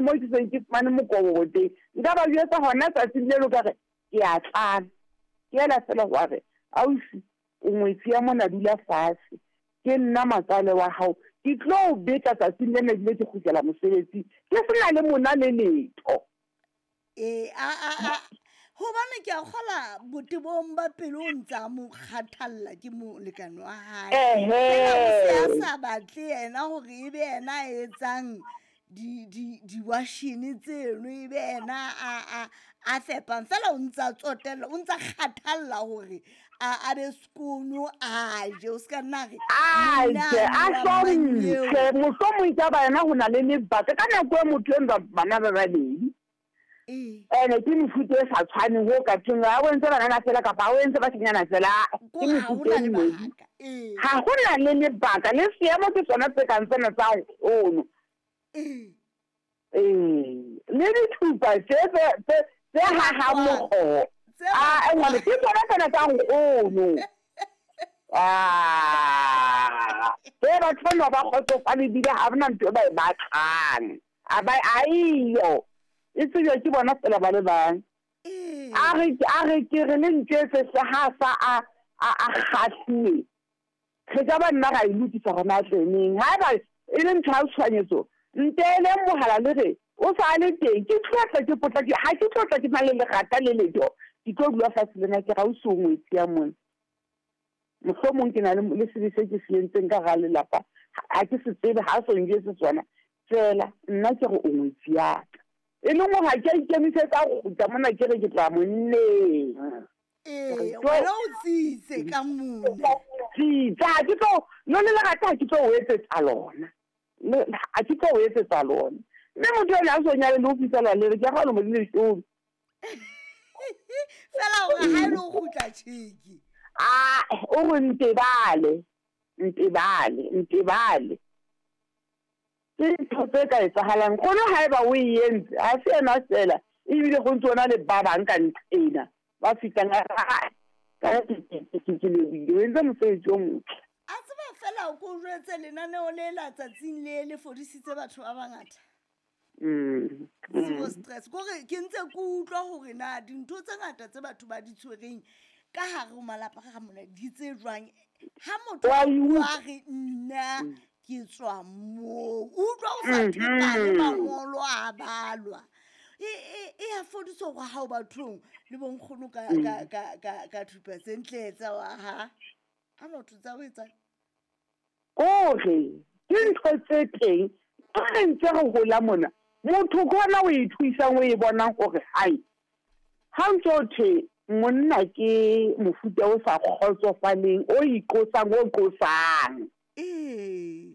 mo ke seng ke fumane mokobobo teng, nka ba jwetsa hona tsatsing leno ka re, ke a tlala. Ke ela fela wa re, Ausi, o ngwetsi ya mona dula fatshe. Ke nna matswale wa hao. Ke tlo o betla tsatsing lena ebile ke kgutlela mosebetsing. Ke sena le mona le letho. Ee, a, a, a, gobane ke a kgola botebong ba pelo o ntse a mo kgathalla ke molekane wa gae. Fela o se a sa batle yena gore e be yena a etsang diwashene tseno, e be yena a fepang. Fela o ntse a tsotella, o ntse a kgathalla gore a be sekono a je, o se ka nna re a je, a hlomphe. Mohlomong ka ba yena go na le lebaka ka nako e motho e bana ba babedi. Ene ke mefuta e sa tshwaneng ho ka thweng ha o entse banana fela kapa ha o entse bashanyana fela, ke mefuta e mmedi. Ha ho na le lebaka le seemo ke sona se kang sena sa nkgono. Ee, le dithupa tse tse tse hahang mokgoho. A ngwane ke tsona tsena tsa nkgono. Ah, tse batho bana ba kgotsofale ebile ha bona ntho e ba e batlang. A ba aiyo. E tsejwa ke bona fela ba le bang. A re a re ke re le ntjwetse hle ha sa a a a kgahliwe. Re ka ba nna ra e lokisa hore na tle neng. Haeba e le ntho ya tshohanyetso, nteeleng mohala le re o sa le teng. Ke tlo tla ke potlake, ha ke tlo tla ke na le lerata le letho. Ke tlo dula fatshe le na ke re ausi o ngwetsi ya mona. Mohlomong ke na le le sebe se ke se entseng ka hara lelapa, ha ke se tsebe, ha a so njwetse sona. Feela nna ke re o ngwetsi ya ka. E leng hore ha ke a ikemisetsa ho kgutla mona ke re ke tloha monneng. Ee, wena o tsitse ka mona. Tsitsa, ha ke tlo, no le lerata ha ke tlo o etsetsa lona. Ha ke tlo o etsetsa lona. Mme motho ena a so nyale le ho fihlela le re ke ga lemo di leshome. Fela gore ha e le go kgutla tšhiki. A o re ntebale, ntebale, ntebale. Ke ntho tse ka etsahalang. Kono haeba o e entse, ha se yena feela, ebile go ntse o na le ba bang ka nqena ba fihlang a re, "Ai, ka ke lebohile, o entse mosebetsi o motle." A tseba fela ko jwetse lenaneo le la tsatsing le le fodisitse batho ba bangata. Zero stress. Kore ke ntse ke utlwa hore na dintho tse ngata tse batho ba di tshwereng ka hare ho malapa ka mona di tse jwang. Ha motho a bua re nna ke tswa moo, o utlwa o sa thepane mangolo a balwa. E ya fodisa hore ha o bathong le bonkgono ka ka ka ka ka thupa tse ntle tsa wa ha. Ha motho tsa o etsang? Kore ke ntho tse teng ha re ntse re hola mona, motho ke ona o e thuisang o e bonang hore hai, ha ntso thwe monna ke mofuta o sa kgotsofaleng, o iqosang, o qosang. Ee,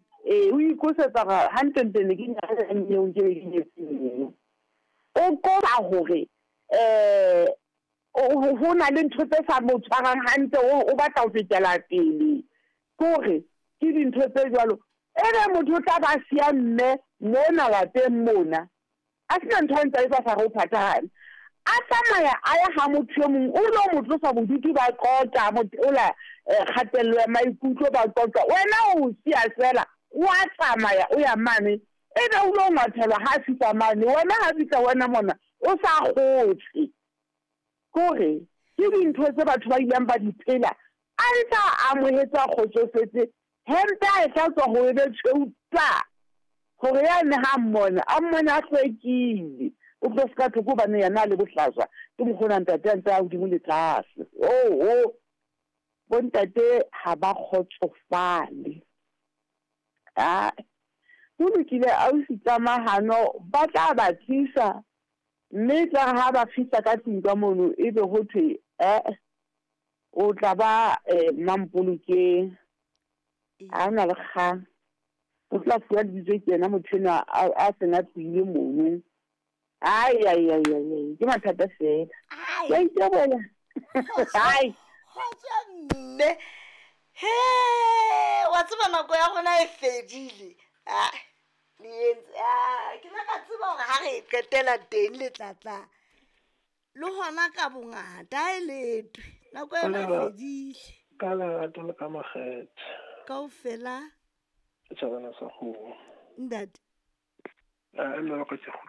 o iqosetsa hore hantlentle ne ke nyaleleng eo nke be ke nyetse eng. O qosa hore ho na le ntho tse sa mo tshwarang hantle, o batla ho fetela pele. Ke hore ke dintho tse jwalo. Ebe motho o tla ba siya mme mona lapeng mona, a sena ntho a ntse a etsa sa re o phathahane. A tsamaya a ya ha motho e mong, o lo mo tlosa bodutu ba qoqa, a mo theola kgatello ya maikutlo ba qoqa. Wena o siya feela, wa tsamaya o ya mane, ebe o lo ngwathelwa ha a fihla mane. Wena ha fihla wena mona o sa kgotse. Kore ke dintho tse batho ba ileng ba di phela, a ntse a amohetse a kgotsofetse, hempe a e hlatswa ho e be tshweu twa, hore yane ha a mmona, a mmone a hlwekile. O tlo se ka thoko hobane yena a le bohlaswa, ke mokgwa ona ntate a ntse a hodimo le tlase. Oho, bontate ha ba kgotsofale. Ae, ho lokile ausi Tlamahano, ba tla ba tlisa. Mme e tla re ha ba fihla ka tlung ka mono, ebe ho thwe, Eh, o tla ba Mmampolokeng. Ha ho na le kgang. O tla fuwa lebitso ke yena motho enwa a seng a tlohile mono. Ai, ai, ai, ai, ai, ke mathata feela. Ke a itebola. Ai. Kgotso mme. He, wa tseba nako ya rona e fedile. Ah. Le entse ah, ke la ka tseba gore ga re e qetela teng letlatla le gona ka bongata e letwe nako yona e fedile. Ka lerato le ka makgethe. Kaofela. Setšhabana sa kgomo. Ntate. A nna ka ke